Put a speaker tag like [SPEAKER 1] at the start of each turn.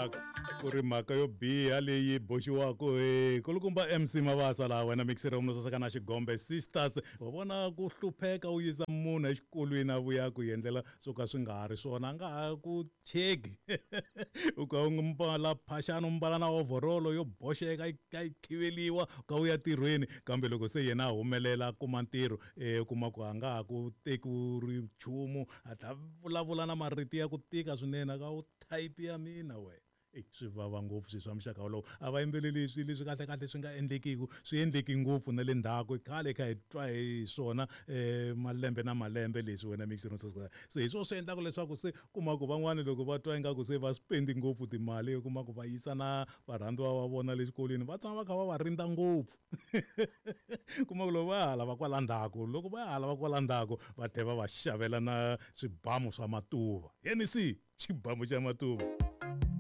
[SPEAKER 1] Ya ku ri mhaka yo biha leyi boxiwaka hi kulukumba MC Mabasa laha wena mixer munhu saseka na Xigombe Sisters. Wa vona ku hlupheka u yisa munhu exikolweni a vuya ku endlela swo ka swi nga ha ri swona, a nga ha ku cheki. U ka u mbala phaxani, u mbala na overall yo boxeka yi ka yi khiveliwa, u ka u ya ntirhweni, kambe loko se yena a humelela a kuma ntirho, u kuma ku a nga ha ku teki u ri nchumu, a tlha vulavula na marito ya ku tika swinene, a ka u type ya mina wena. Eyi swi vava ngopfu swilo swa muxaka wolowo. A va yimbeleli swilo leswi kahlekahle swi nga endlekiki, swi endleki ngopfu na le ndzhaku. Khale hi kha hi twa hi swona malembe na malembe leswi wena mixer. Se hi swona swi endlaka leswaku se kuma ku van'wani loko va twa ingaku se va spend ngopfu timali, u kuma ku va yisa na varhandziwa va vona le xikolweni, va tshama va kha va va rindza ngopfu. Kuma ku loko va ya hala va kwala ndzhaku, loko va ya hala va kwala ndzhaku, va tlhela va va xavela na swibamu swa matuva. NC xibamu xa matuva.